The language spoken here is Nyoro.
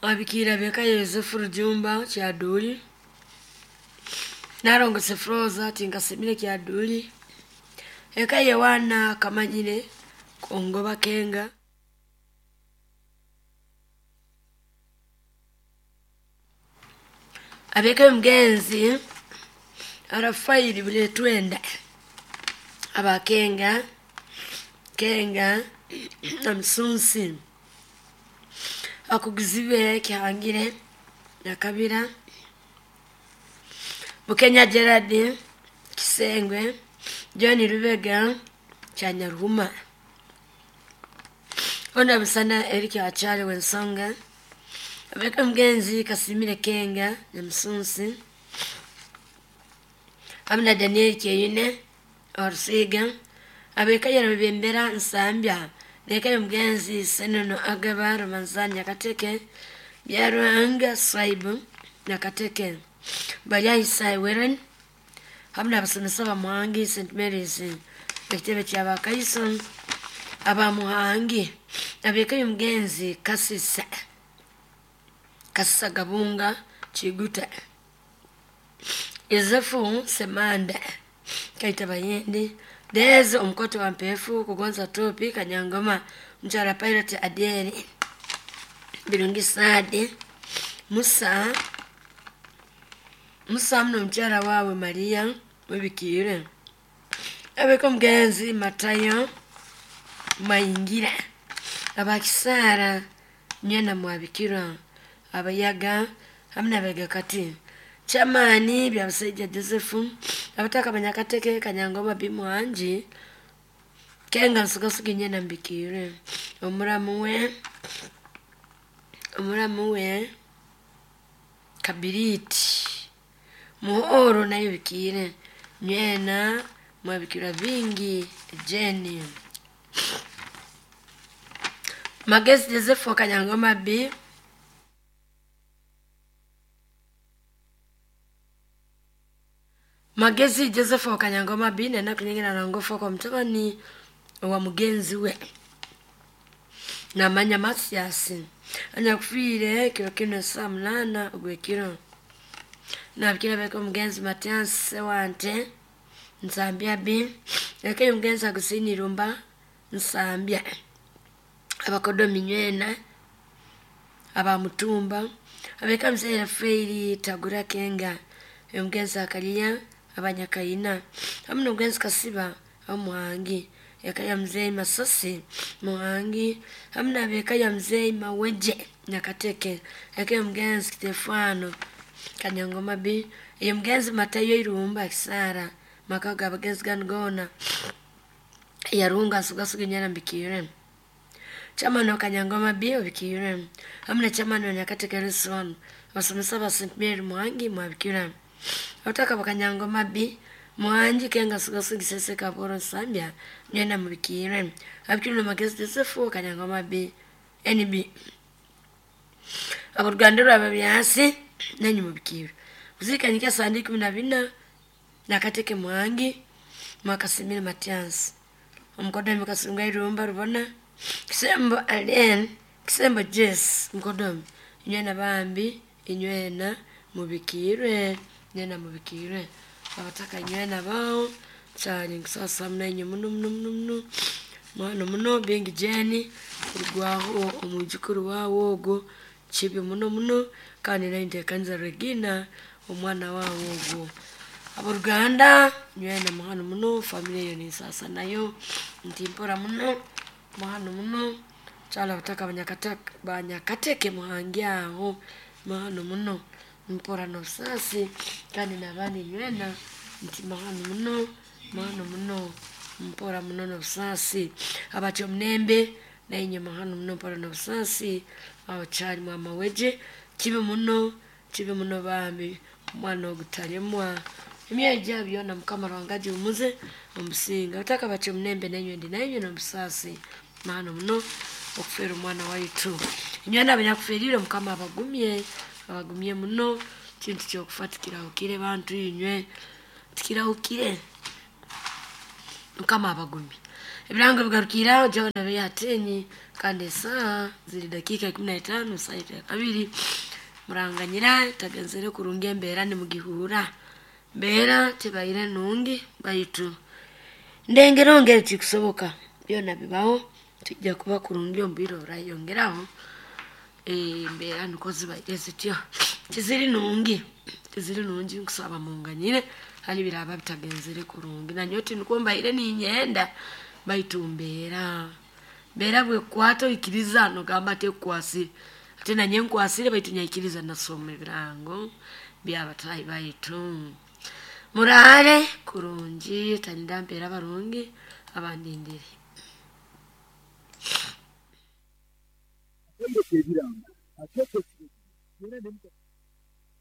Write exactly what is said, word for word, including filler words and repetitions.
Abikira beka Yosefu Rujumba Kyaduli, Nalongo Sefroza Tinkasimire Kyaduli, eka Yohana Kamanyire Kongoba Kenga. Abeka omugenzi Arafairi Buletwenda abakenga Kenga na Musunsi akugizibe Kihangire Nakabira Bukenya Gerard Kisengwe John Rubega Kyanyaruhuma Onda Busana Eric Achale Wensonga. Abeka omugenzi Kasimire Kenga na Musunsi Amina Daniel Kyeyune Orusiga. Abeka Yarabembera Nsambya neka omugenzi Senono Agaba Romanzani Nyakateke Byaruhanga Swaibu Nyakateke Balya Isai Weren hamu n'abasomesa ba Muhangi Saint Mary's ekitebe ky'Abakaiso aba Muhangi. Abeka omugenzi Kasisa Kasisa Gabunga Kiguta Yosefu Semanda Kaita Bayende Deze omukoto wa Mpefu Kugonza Topi Kanyangoma Mchara Pirate Aderi Birungi Sade Musa Musa muno mukyala waabwe Maria Mubikire. Abeka omugenzi Matayo Mayingira Abakisaara Nywena Mwabikirwa Abayaga hamu n'abega kati Chamani Byabusaija Joseph abataka Banyakateke Kanyangoma Bimuhangi Kenga Nsugasugi Nyena Mbikire omuramu we omuramu we Kabiriti Muhoro nayo bikire Nywena mwabikirwa bingi Jeni Magezi Joseph wa Kanyangoma B Magezi Joseph wa Kanyangoma B nena kunyingira na ngofo kwa mtabani wa mugenzi we na manya Matias anyakufiire kiro kino saa munana ogwekiro. Nabikira beka omugenzi Matias Sewante Nsambya B eka omugenzi Agusini Rumba Nsambya abakodomi Nywena abamutumba abeka mzee Rafaeli Tagura Kenga omugenzi Akaliya abanyakaina hamu n'omugenzi Kasiba Omuhangi eka ya mzee Masasi Muhangi hamu n'abeka ya mzee Maweje Nyakateke eka omugenzi Kitefano Kanyangoma B omugenzi Matayo Irumba Kisara maka g'abagenzi ganu goona Yarunga Nsugasugi Nyana Mbikire Chamani wa Kanyangoma B obikire hamu na chamani wa Nyakateke Lisson abasomesa ba Saint Mary Muhangi mwabikira abataka ba Kanyangoma B Muhangi Kenga Nsugasugi Sese Kaboro Nsambya Nywena mubikire abikire na Magezi Joseph wa Kanyangoma B N B aboruganda rw'ababyasi nanyu mubikire kuzikanyika sandi ikumi na bina Nakateke Muhangi Mwakasimire Matias omukodomi Kasunga Irumba Rubona Kisembo Alien Kisembo Jess mukodomi inywena bambi inywena mubikirwe inywena mubikirwe abataka inywena bao kyali nkusasa munenye muno muno muno muno mwana muno bingi Jeni kurugwaho omwijukuru wawe ogwo kibi muno muno kandi nainteekaniza Regina omwana wawe ogwo. Aboruganda nywena muhano muno family eyo ninsasa nayo nti mpora muno muhano muno kyala abataka Banyakateke Muhangi aho muhano muno mpora n'obusaasi kandi n'abandi nywena nti muhano muno muhano muno mpora muno n'obusaasi abatyo omunembe nainye muhano muno mpora n'obusaasi aho kyalimu amaweje kibi muno kibi muno bambi omwana ogutalemwa emyoyo gyabo byona Mukama Ruhanga agiwumuze omusinga abataka batyo omunembe nainywe ndi nainywe n'obusaasi muhano muno okufeera omwana waitu. Inywena abanyakufiiriire Mukama abagumye abagumye muno kintu kyokufa tikirahukire bantu inywe tikirahukire Mukama abagumye. Ebirango bigarukiraho jona byatenyi kandi saa ziri dakika ikumi na itaano saa ya kabiri muranganyira tagenzere kurungi embeera nimugihura mbeera tibaire nungi baitu ndengero ngeri tikusoboka byona bibaho tujja kuba kurungi omubwire orayongeraho embeera niko zibaire zityo tiziri nungi tiziri nungi nkusaba munganyire hali biraba bitagenzere kurungi nanyowe tinukwo mbaire ninyenda baitu mbeera mbeera bwekukwata oikiriza nogamba tekukwasire ate nanye nkwasire baitu nyaikiriza nasoma ebirango byabataahi baitu. Muraare kurungi tanyinda mpeera barungi abandindire.